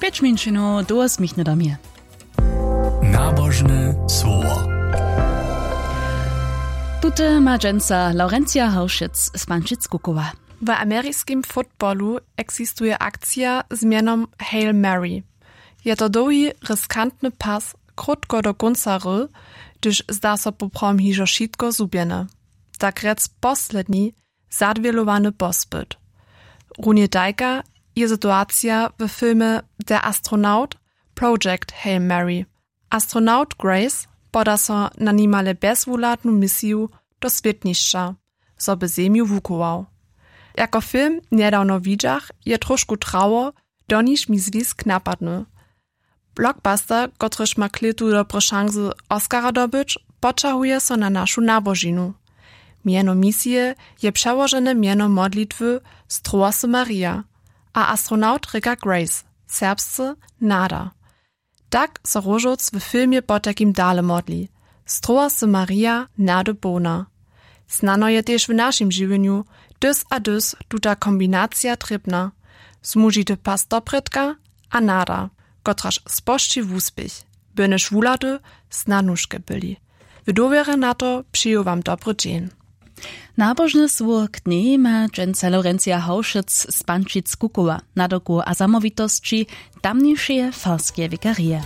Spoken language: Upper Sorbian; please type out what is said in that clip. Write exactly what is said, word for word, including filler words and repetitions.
Pjeć minšinu do osmich do mje. Nabožne słowo. Tute ma dźensa Laurencija Hałšec z Pančic Kukowa. W ameriskim fotbalu eksistuje akcija z mjenom Hail Mary. Je to dołhi riskantny pas krótko do kónca hry, hdyž zda so poprawom hižo wšitko zhubjene, tak rjec posledni zadwělowany pospyt. Runje tajka je situacija w filmje Der Astronaut, Project Hail Mary. Astronaut Grace poda so na nimale bjezwuhladnu misiju do swětnišća, zo by Zemju wuchował. Jako film njedawno widźach, je trošku trało, do niž mi zwisk napadny. Blockbuster, kotryž ma klětu dobre šansy Oscara dobyć, poćahuje so na našu nabožinu. Mjeno misije je přełožene mjeno modlitwy Strołasy Maria, a astronaut rěka Grace, serbsce nada. Tak so róžowc w filmje potajkim dale modli: Strołasy Maria, nady połna. Snano je tež w našim žiwjenju dys a dys tuta kombinacija trěbna: zmužity pas doprědka a nada, kotraž spožči wuspěch, byrnjež wuhlady snadnuške byli. W dowěrje na to přeju wam dobry dźeń. Nabožne słowo k dnjej ma dźensa Laurencija Hałšec z Pančic Kukowa. Nadoku a zamołwitosći tamnišeje farskeje wikarije.